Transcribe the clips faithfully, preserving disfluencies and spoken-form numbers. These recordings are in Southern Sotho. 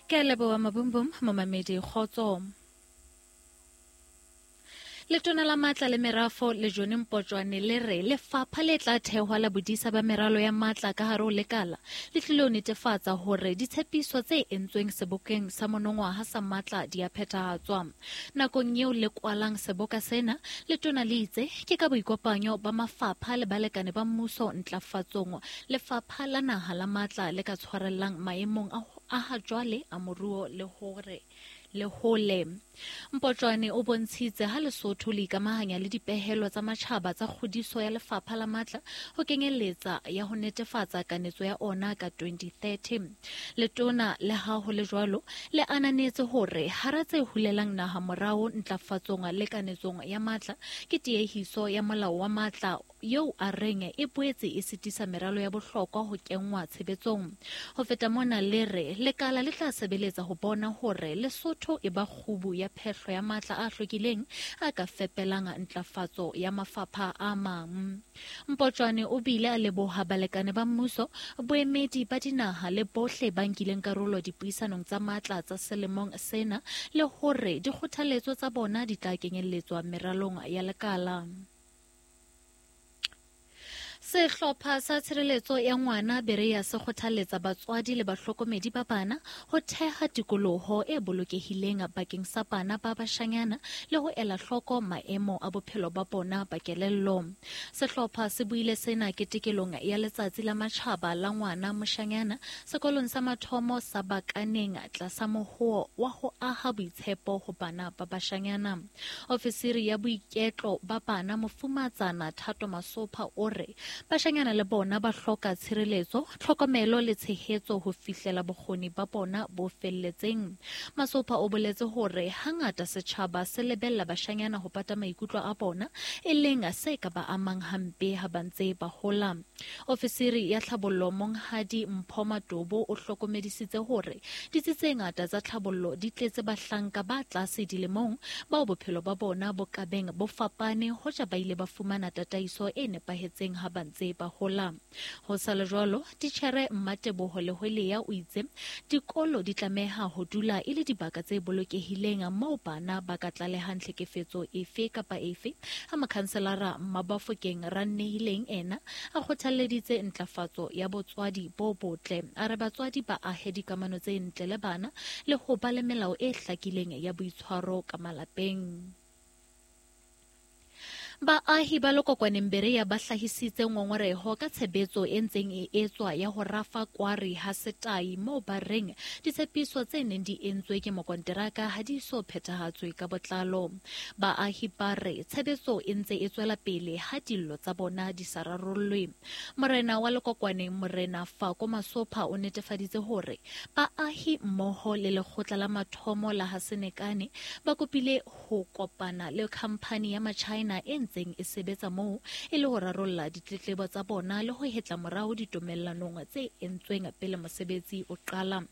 Ke a leboha Mabumbum, momamedi kgotso. Letona la matla le merafo le John Mpotjwane le re lefapha le tla thehwa la bodisa ba meralo ya matla ka hare ho lekala le tlilo ho netefatsa hore ditshepiso tse entsweng sebokeng sa monongwaha sa matla di a phethahatswa. Nakong eo le kwalang seboka sena, letona le itse ke ka boikopanyo ba mafapha le balekane ba mmuso ntlafatsong lefapha la naha la matla le ka tshwarellang maemong a a ha jwale a moruo le hore le hole. Mpotjwane o bontshitse ha Lesotho le ikamahanya le dipehelo tsa matjhaba tsa kgodiso ya lefapha la matla ho kenyeletsa ya ho netefatsa kanetso ya ona ka twenty thirty. Letona le ha ho le jwalo le ananetse hore hara tse hulelang naha morao ntlafatsong le kanetsong ya matla ke tiehiso ya molao wa matla eo a reng e boetse e sitisa meralo ya bohlokwa ho kenngwa tshebetsong. Ho feta mona le re lekala le tla sebeletsa ho bona hore Lesotho e ba kgubu ya phehlo ya matla a hlwekileng a ka fepelang ntlafatso ya mafapha a mang. Mpotjwane o bile a leboha balekane ba mmuso, boemedi ba dinaha le bohle ba nkileng karolo dipuisanong tsa matla tsa selemong sena le hore dikgothaletso tsa bona di tla kenyelletswa meralong ya lekala. Sehlopha sa tshireletso ya ngwana Berea se kgothaletsa batswadi le bahlokomedi ba bana ho theha tikoloho e bolokehileng bakeng sa bana ba bashanyana le ho ela hloko maemo a bophelo ba bona ba kelello. Sehlopha se buile sena ketekelong ya letsatsi la matjhaba la ngwana moshanyana sekolong sa mathomo sa Bakaneng tlasa mohoo wa ho aha boitshepo ho bana ba bashanyana. Ofisiri ya boiketlo ba bana Mofumatsana Thato Masopha o re bashanyana le bona ba hloka tshireletso, tlhokomelo le tshehetso ho fihlela bokgoni ba bona bo felletseng. Masopha o boletse hore hangata setjhaba se lebella bashanyana ho pata maikutlo a bona, e leng se ka ba amang hampe ha ba ntse ba hola. Ofisiri ya tlhabollo Monghadi Mpho Matobo o hlokomedisitse hore ditsi tse ngata tsa tlhabollo di tletse bahlanka ba tlase dilemong bao bophelo ba bona bo kabeng bo fapane hoja ba ile ba fumana tataiso e nepahetseng ha ba ntse ba hola. Ho sa le jwalo, titjhere Mmateboho Lehwelea o itse dikolo di tlameha ho dula e le dibaka tse bolokehileng moo bana ba ka tlalehang tlhekefetso efe kapa efe. Ha mokhanselara Mabafokeng Rannehileng ena a kgothalleditse ntlafatso ya botswadi bo botle, a re batswadi ba ahe dikamano tse ntle le bana le ho ba le melao e hlakileng ya boitshwaro ka malapeng. Baahi ba Lokokwaneng Berea ba hlahisitse ngongoreho ka tshebetso e ntseng e etswa ya ho rafa kwari ha setai moo ba reng ditshepiso tse neng di entswe ke mokonteraka ha di so phethahatswe ka botlalo. Baahi ba re tshebetso e ntse e tswela pele ha dillo tsa bona di sa rarollwe. Morena wa Lokokwaneng Morena Fako Masopha o netefaditse hore baahi mmoho le lekgotla la mathomo la Hasenekane ba kopile ho kopana le khamphani ya Machina e ntseng e sebetsa moo e le ho rarolla ditletlebo tsa bona le ho hetla morao ditumellanong tse entsweng pele mosebetsi o qala.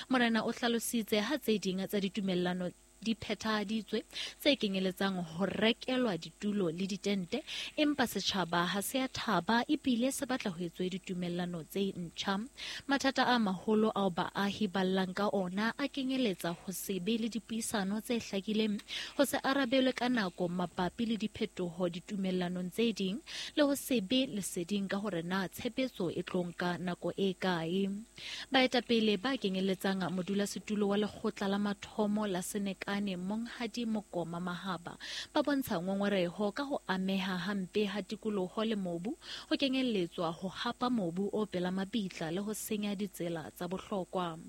Morena o hlalositse ha tse ding tsa ditumellano di phethahaditswe tse kenyeletsang ho rekelwa ditulo le ditente, empa setjhaba ha se a thaba ebile se batla ho etswe ditumellano tse ntjha. Mathata a maholo ao baahi ba llang ka ona a kenyeletsa ho se be le dipuisano tse hlakileng, ho se arabelwe ka nako mabapi le diphetoho ditumellanong tse ding, le ho se be leseding ka hore na tshebetso e tlo nka nako e kae. Baetapele ba kenyeletsang modulasetulo wa lekgotla la mathomo la Senekal ane Monghadi Mokoma Mahaba ba bontsha ngongoreho ka ho ameha hampe ha tikoloho le mobu, ho kenyelletswa ho hapa mobu o pela mabitla le ho senya ditsela tsa bohlokwa.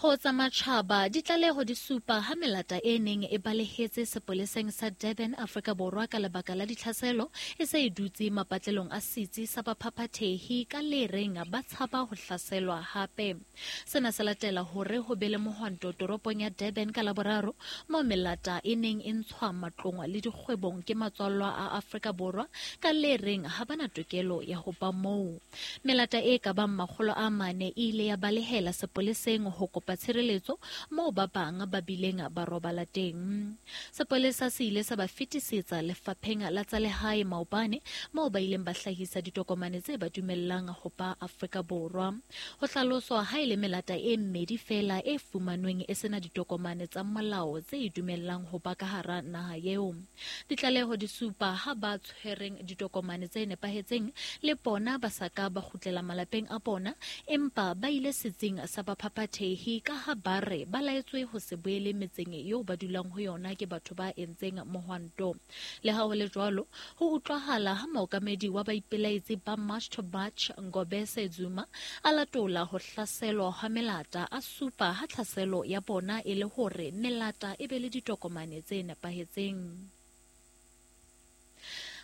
Ho tsa matjhaba, ditlaleho di supa ha melata e neng e balehetse sepoleseng sa Durban, Afrika Borwa ka lebaka la ditlhaselo e se e dutse mapatlelong a setsi sa baphaphathehi ka le reng ba tshaba ho hlaselwa hape. Sena se latela hore ho be le mohwanto toropong ya Durban ka Laboraro moo melata e neng e ntshwa matlong le dikgwebong ke matswallwa a Afrika Borwa ka le reng ha bana tokelo ya ho ba moo. Melata e ka bang makgolo a mane e ile ya balehela sepoleseng ho kopa tshireletso moo ba bang ba bileng ba robala teng. Sepolesa se ile sa ba fetisetsa lefapheng la tsa lehae maobane moo ba ileng ba hlahisa ditokomane tse ba dumellang ho ba Afrika Borwa. Ho hlaloswa ha e le melata e mmedi fela e fumanweng e sena ditokomane tsa molao tse e dumellang ho ba ka hara naha eo. Ditlaleho di supa ha ba tshwereng ditokomane tse nepahetseng le bona ba sa ka ba kgutlela malapeng a bona, empa ba ile setsing sa baphaphathehi ka ha ba re ba laetswe ho se boele metseng eo ba dulang ho yona ke batho ba entseng mohwanto. Le ha ho le jwalo, ho utlwahala ha mookamedi wa baipelaetsi ba March to March Ngobese Zuma a latola ho hlaselwa ha melata, a supa ha tlhaselo ya bona e le hore melata e be le ditokomane tse nepahetseng.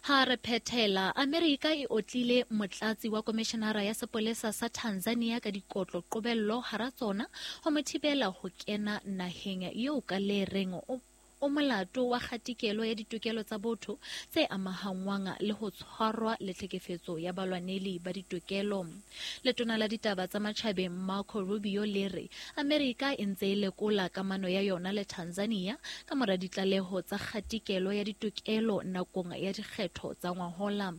Ha re phethela, Amerika e otlile motlatsi wa komishenara ya sepolesa sa Tanzania ka dikotlo qobello hara tsona ho mo thibela ho kena naheng eo ka le reng o o molato wa kgatikelo ya ditokelo tsa botho tse amahangwang le ho tshwarwa le tlhekefetso ya balwaneli ba ditokelo. Letona la ditaba tsa matjhabeng Marco Rubio le re Amerika e ntse e lekola kamano ya yona le Tanzania ka mora ditlaleho tsa kgatikelo ya ditokelo nakong ya dikgetho tsa ngwahola.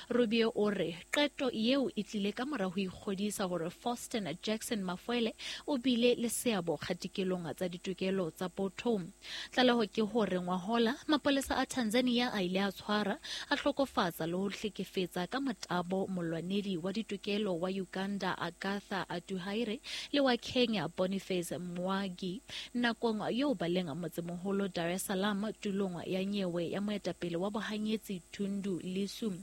Rubio o re qeto eo e tlile ka mora ho ikgodisa hore Faustin Jackson Mafuele o bile le seabo kgatikelong tsa ditokelo tsa botho. Tlaleho ke hore ngwahola mapolesa a Tanzania a ile a tshwara, a hlokofatsa le ho hlekefetsa ka motabo molwanedi wa ditokelo wa Uganda Agatha Atuhaire le wa Kenya Boniface Mwangi nakong eo ba leng motsemoholo Dar es Salaam tulong ya nyewe ya moetapele wa bohanyetsi Tundu Lissu.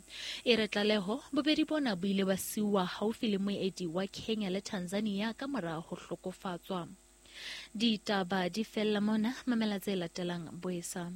E re tlaleho bobedi bona bo ile ba siuwa haufi le moedi wa Kenya le Tanzania ka mora ho hlokofatswa. Ditaba di fella mona, mamela tse latelang boesa.